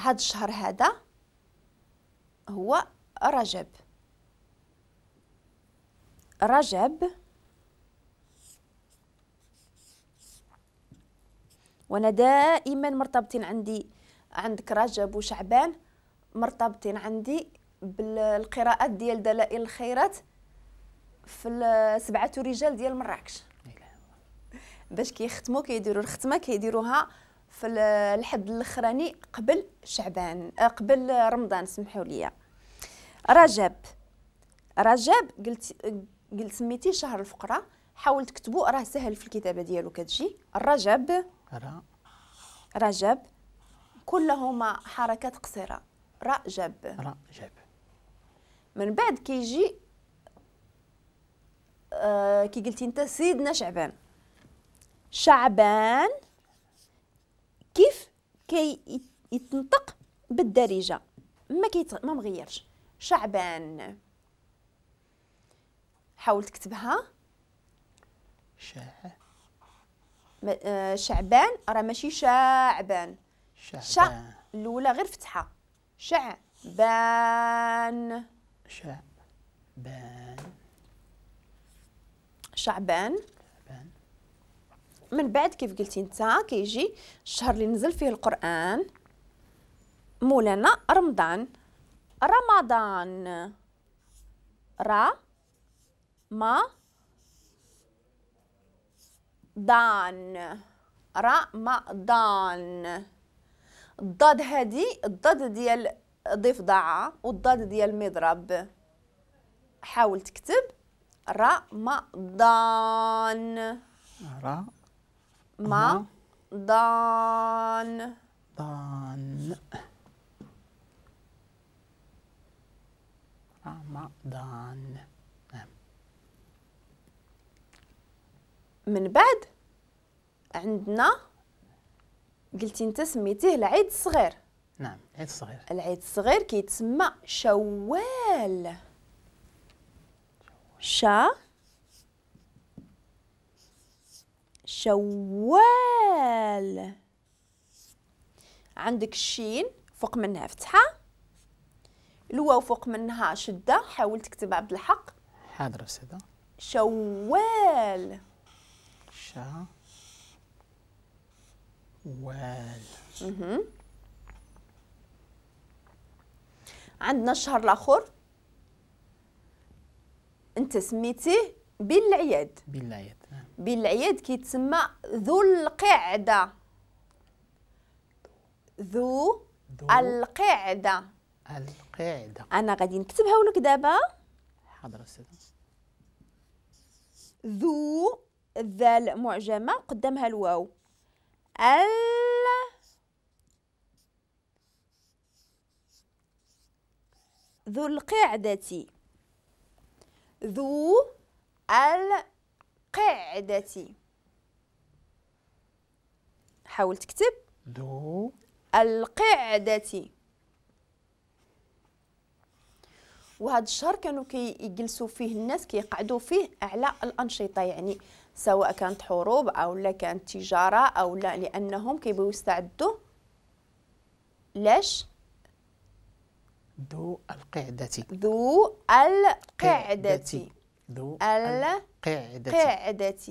هاد الشهر هذا هو رجب. رجب، وانا دائما مرتبطين عندي، عندك رجب وشعبان مرتبطين عندي بالقراءات ديال دلائل الخيرات في 7 رجال ديال مراكش، باش كيختموا كيديروا الختمة كيديروها في الحد الاخراني قبل شعبان، قبل رمضان، سمحوا لي. رجب، رجب قلت سميتي شهر الفقراء، حاول تكتبوا راه سهل في الكتابة ديالو كتجي الرجب. رجب كلهما حركات قصيرة، رجب رجب. من بعد كيجي كي قلتي انت سيدنا شعبان. شعبان كيف كي يتنطق بالدارجة ما مغيرش، شعبان. حاول تكتبها شعبان، راه ماشي شعبان، شع الاولى غير فتحه، شعبان شعبان شعبان. من بعد كيف قلتي انت كيجي الشهر اللي نزل فيه القرآن مولانا رمضان. رمضان، را ما دان، رمضان. الضاد هادي الضاد ديال ضفدعة والضاد ديال مضرب. حاول تكتب رمضان. را ما ضان ضان رمضان. نعم. من بعد عندنا قلتي انت سميتيه العيد الصغير. نعم، العيد الصغير. العيد الصغير كيتسمى شوال. شا شوال. عندك الشين فوق منها فتحة، الواو فوق منها شدة، حاول تكتب عبد الحق. حاضر أستاذة. شوال. شا وال. عندنا الشهر الآخر أنت سميتيه بالعياد. بالعياد. نعم. بالعياد كيتسمى ذو القعدة. ذو القعدة. القعدة. أنا غادي نكتبها لك دابا. حاضر أستاذة. ذو، الذال معجمة قدامها الواو، ال ذو القعدة. ذو القعدة. حاول تكتب ذو القعدة. وهذا الشهر كانوا كيجلسوا فيه الناس، كيقعدوا فيه على الأنشطة، يعني سواء كانت حروب أو لا كانت تجارة أو لا، لأنهم كيبغيو يستعدوا. لاش؟ ذو القعدة. ذو القعدة. ذو القعدة.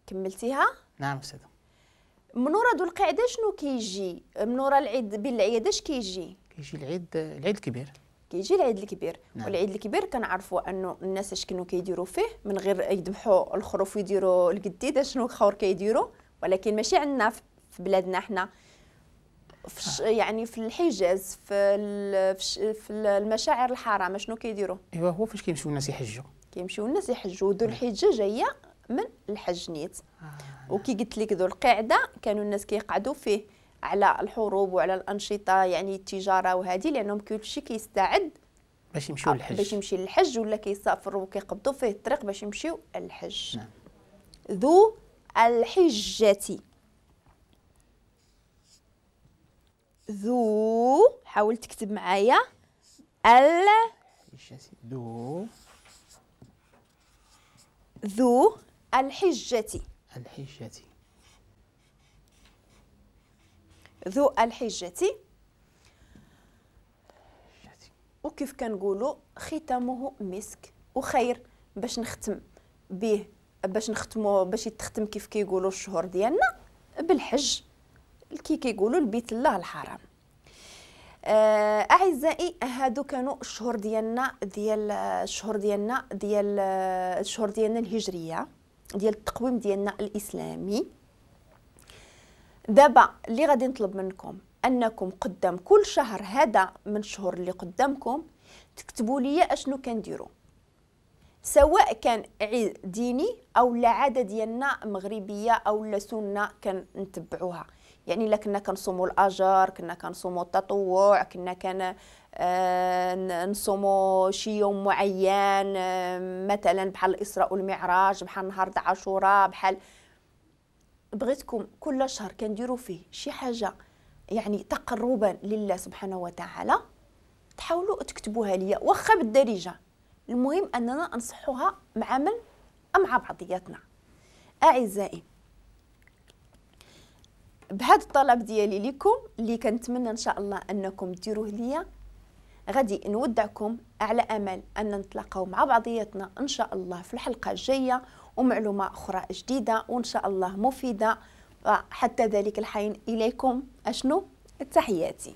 كملتيها؟ نعم أستاذة. من ورا ذو القعدة شنو كيجي؟ من ورا العيد بالعيادة اش كيجي؟ كيجي العيد الكبير. كيجي العيد الكبير. نعم. والعيد الكبير كنعرفوا انه الناس اش كانوا كيديروا فيه من غير يذبحوا الخروف ويديروا القديده، شنو خور كيديروا، ولكن ماشي عندنا في بلادنا حنا، في يعني في الحجاز، في المشاعر الحرام شنو كيديروا؟ ايوا هو فاش كيمشيو الناس يحجوا. كيمشيو الناس يحجوا. ذو الحجة جاية من الحج نيت. وكي قلت لك ذو القعدة كانوا الناس كيقعدوا فيه على الحروب وعلى الانشطة، يعني التجارة وهذه، لانهم كلشي كيستعد باش يمشيو للحج، باش يمشي للحج ولا كيسافروا وكيقبضوا فيه الطريق باش يمشيو للحج. نعم. ذو الحجة. ذو، حاول تكتب معايا، ال ذو ذو الحجة. الحجة. ذو الحجة. وكيف كنقولوا ختامه مسك وخير، باش نختم به، باش نختمو، باش يتختم كيف كيقولوا الشهور ديالنا بالحج، كي كيقولوا البيت الله الحرام. اعزائي هادو كانوا الشهور ديالنا ديال الشهور ديالنا ديال الشهور ديالنا الهجرية ديال التقويم ديالنا الاسلامي. دابا اللي غادي نطلب منكم انكم قدام كل شهر هذا من الشهور اللي قدامكم تكتبوا لي اشنو كنديروا، سواء كان عيد ديني او لا عادة ديالنا مغربية او لا سنة كنتبعوها. يعني الا كنا كنصوموا الاجر، كنا كنصوموا التطوع، كنا كان نصوموا شي يوم معين، مثلا بحال الاسراء والمعراج، بحال نهار عاشوراء، بحال بغيتكم كل شهر كنديروا فيه شي حاجة يعني تقربا لله سبحانه وتعالى، تحاولوا تكتبوها ليا واخا بالدارجة، المهم اننا نصحوها مع من؟ مع بعضياتنا. اعزائي بهذا الطلب ديالي لكم اللي كنتمنى ان شاء الله انكم ديروه ليا، غادي نودعكم على امل ان نتلاقاو مع بعضياتنا ان شاء الله في الحلقة الجاية ومعلومه اخرى جديدة وان شاء الله مفيدة. حتى ذلك الحين اليكم اشنو تحياتي.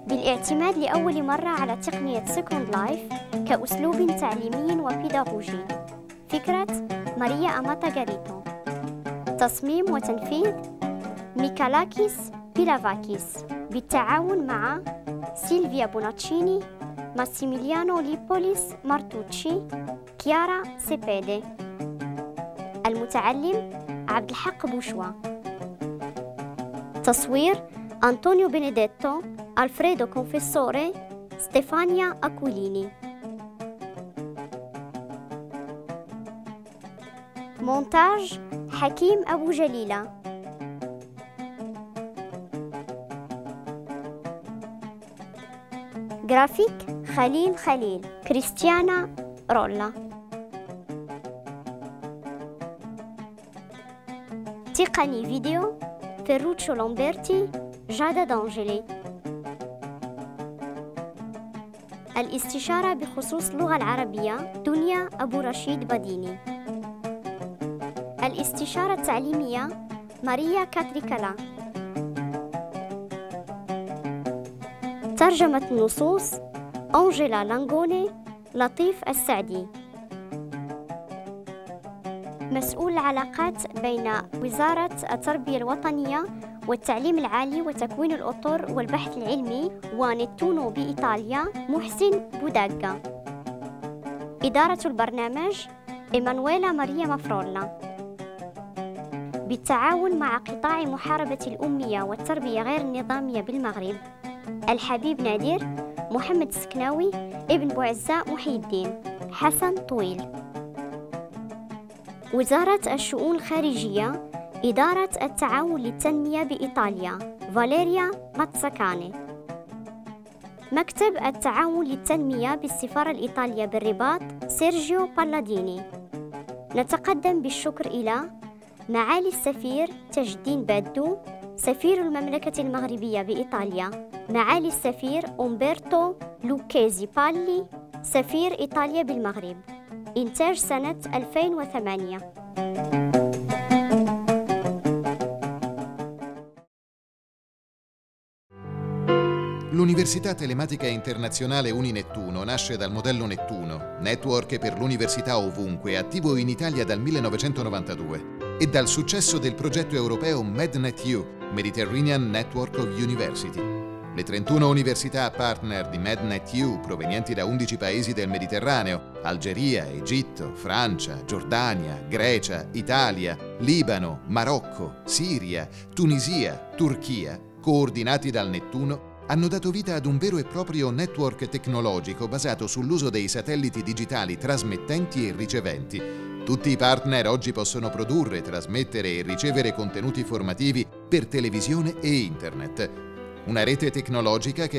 بالاعتماد لأول مرة على تقنية Second Life كأسلوب تعليمي وبيداغوجي. فكرة ماريا أماتا غاريتو. تصميم وتنفيذ ميكالاكيس بيلافاكيس بالتعاون مع سيلفيا بوناتشيني، ماسيميليانو ليبوليس مارتوتشي، كيارا سيبيدي. المتعلم عبد الحق بوشوا. تصوير أنطونيو بينيديتو، ألفريدو كونفيسوري، ستيفانيا أكوليني. مونتاج حكيم أبو جليلة. جرافيك خليل خليل، كريستيانا رولا. تقني فيديو فيروتشو لامبرتي، جادا دانجيلي. الاستشارة بخصوص اللغة العربية دنيا أبو رشيد بديني. الاستشارة التعليمية ماريا كاتريكالا. ترجمة النصوص أنجيلا لانغوني، لطيف السعدي. مسؤول العلاقات بين وزارة التربية الوطنية والتعليم العالي وتكوين الأطر والبحث العلمي ونتونو بإيطاليا محسن بوداغا. إدارة البرنامج إيمانويلا ماريا مافرولا. بالتعاون مع قطاع محاربة الأمية والتربية غير النظامية بالمغرب، الحبيب نادر، محمد السكناوي، ابن بوعزة محي الدين، حسن طويل. وزارة الشؤون الخارجية، إدارة التعاون للتنمية بإيطاليا، فاليريا ماتساكاني. مكتب التعاون للتنمية بالسفارة الإيطالية بالرباط، سيرجيو بالاديني. نتقدم بالشكر إلى معالي السفير تاج الدين بادو، سفير المملكة المغربية بإيطاليا، معالي السفير أومبرتو لوكيزي بالي، سفير إيطاليا بالمغرب. إنتاج سنة 2008. L'Università Telematica Internazionale Uninettuno nasce dal modello Nettuno, network per l'università ovunque, attivo in Italia dal 1992, e dal successo del progetto europeo MedNetU, Mediterranean Network of University. Le 31 università partner di MedNetU, provenienti da 11 paesi del Mediterraneo, Algeria, Egitto, Francia, Giordania, Grecia, Italia, Libano, Marocco, Siria, Tunisia, Turchia, coordinati dal Nettuno, hanno dato vita ad un vero e proprio network tecnologico basato sull'uso dei satelliti digitali trasmettenti e riceventi. Tutti i partner oggi possono produrre, trasmettere e ricevere contenuti formativi per televisione e internet. Una rete tecnologica che